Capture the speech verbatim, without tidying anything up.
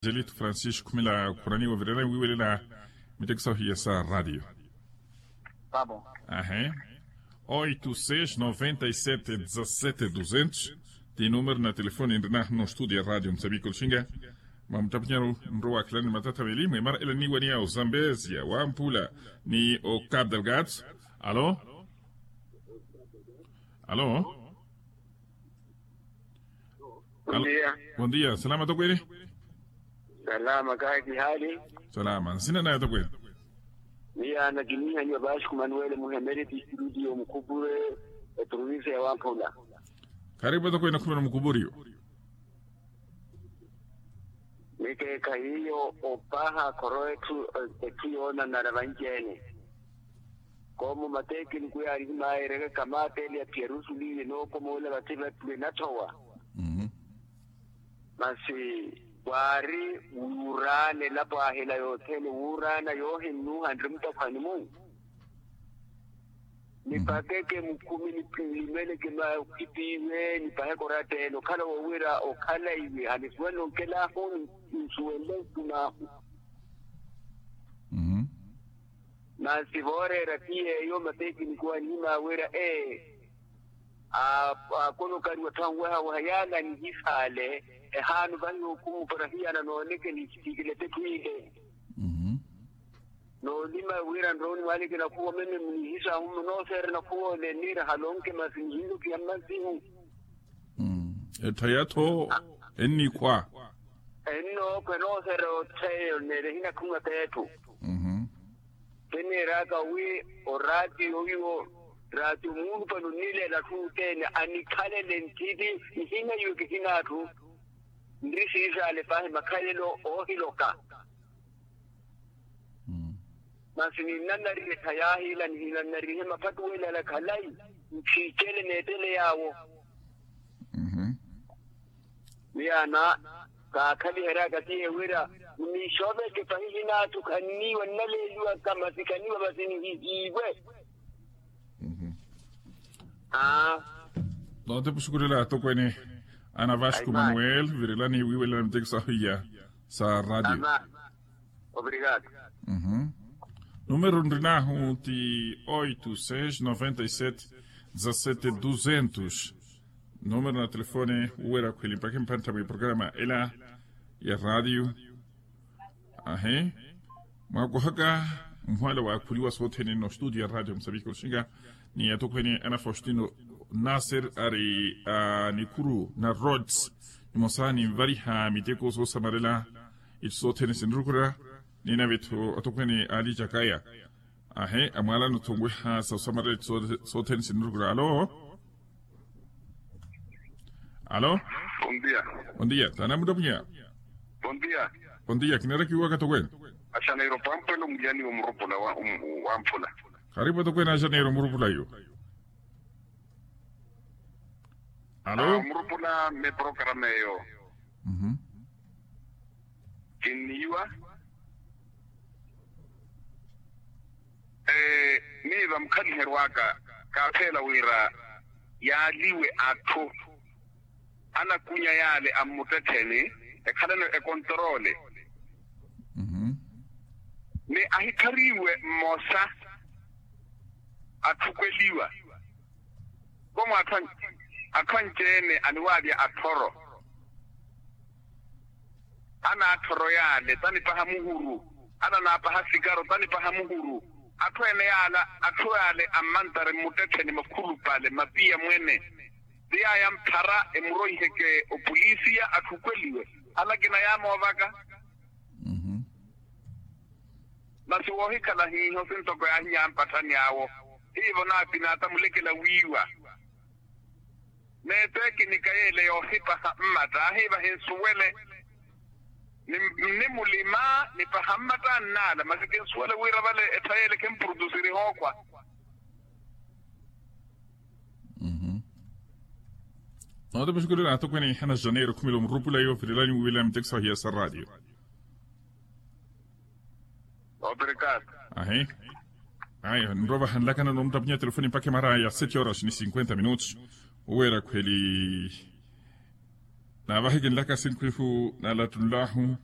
Angelito Francisco khumela khuraniwa virela wiwelela. Miteko sahu hiya sa radio. Ahe. Oito seis noventa e sete dezasete duzentos. Ti numero na telefoni nrina no studio ya radio msabiko lxinga. Mwamutapinyaru nrowa khalani matatha veli mwemara ela niwaniya o zambezia wamphula ni o cap delgado. Alo. Alo. Bon dia. Bon dia, salama tokwene. Salama kahi kihali. Salama nsina naye tokwene. Miya nakinihanyiwa basi ku manuwele muhemeri distritu yo mukupure, eprovinsi ya wamphula. Karibu tokwene khumela mukupuriyo. Mikeekha hiyo opaha khoro etthu, etthu yoonanara vanci-ene. Koomo matekiniko yaari himaayeryaka kamaateli ya piyarusuliye nookomoola vathi vatthu enathowa. Masi waari wuuraana elapo ahila yothene wuuraana yoohinnuha nri mutakhwani-mu. Nipakeke mukhumi nimeleke makhitiiwe nipaheke oratta-ene okhala woowira okhalaiwe hanisuwenle onkelaahu. Nsuwenle ntumaahu. Masi vooreera ti yeeyo matekiniko anihimaawerya ee, akonokariwa thanwehaweha yaala anihisaale. Ehaanu vahi okhumupara hiyana nooneke nihitiikile tetthu ile. Noolima wira nrooni mwaaleke nakhuwa meme munihisahu munooseerya nakhuwa ole niira halonke masi nihinlokiha mmazihu. Ettha ya-tho ennikhwa. Ennookhwa enooseerya otheeyo neera ehinakhumwa t'etthu. Kiniiraka wi oraatiyo oyo raatiyo muulupale onileela atthu othene anikhalele nthiti. Nihina iwe kihina atthu nri siisaale paahi makhalelo oohiloka. Masi ninnannarihe ettha yaahiila nihinannarihe maphattuwelala khalayi. Nchiichele neettele yaawo. Miyaana kaakhaliheryaka tiye wira munixooveke pahi hinaathu khanniiwa nnaleeliwaka masi khaniiwa masi nihihiiwe. Aa. Noote puxukulela atokweene ana vasco manuel virelani wiiwelela miteko sahu iya sa radio. Obrigado. Numero nrinahu ti oito seis noventa e sete dezasete duzentos. Numero na telefone wuwera khweli mpakhe mpantha mwi programa ela ya radio. Ahi. Mwakohaka mhwala waakhuliwa sothene no studio ya radio msabiki oxinga ni atokhwene ana faustino nasser ari a nikhuru na rods nimosa ninvariha miteko soosamarela. Itthu sothene sinirukura ninavetho atokhwene ali jakaya. Ahi amwalano thonweha sa osamarela itthu sothene sinirukura alo. Alo. Bondia. Bondia tanamuttapunya. Bondia. Bondia kinarakiwaka tokwene. Axa nairo pampwela omuliyani wa murupula wa mphula. Karipu atokwene axa nairo murupula yo. Alo. Murupula me programa eyo. Kinniiwa. Miiva mukhaliheryo aka kaatheela wira yaaliwe atthu anakunya yaale ammuttettheni ekhaleno ekontorole. Ni ahikariwe mmosa atthukweliwa komo atthu anci-ene aniwaavya atthoro. Anaathoro yaale tanipaha muhuru. Ananaapaha sikaro tanipaha muhuru. Atthu ene yaala atthu yaale ammantare mmuttettheni makhulupale mapiya mwene. Ti yaaya mphara emuroiheke opolisiya atthukweliwe. Halakina yaamoovaka. Masi woohikhala hiiho sintoko yaahinya ampatthani awo. Hiivo naapinaata mulekela wiiwa. Neetekinika yeele yoohipaha mmatta ahiiva hinsuwele. Nnimulima nipaha mmatta annaala masi kinsuwele wira vale ettha yeele khempurudusiri hookhwa. Noote muxukulelo atokweene ihana janeiro khumela omurupula yoovirelani wiwelani miteko sahiya sa radio. Obrigado. Ahi. Ayi nrovaha nlakana nomuttapunya telefoni mpakha emara ya sete horas ni cinquenta minutos. Oweera khweli naavahikinlaka sinkhu ihu nalattunlahu.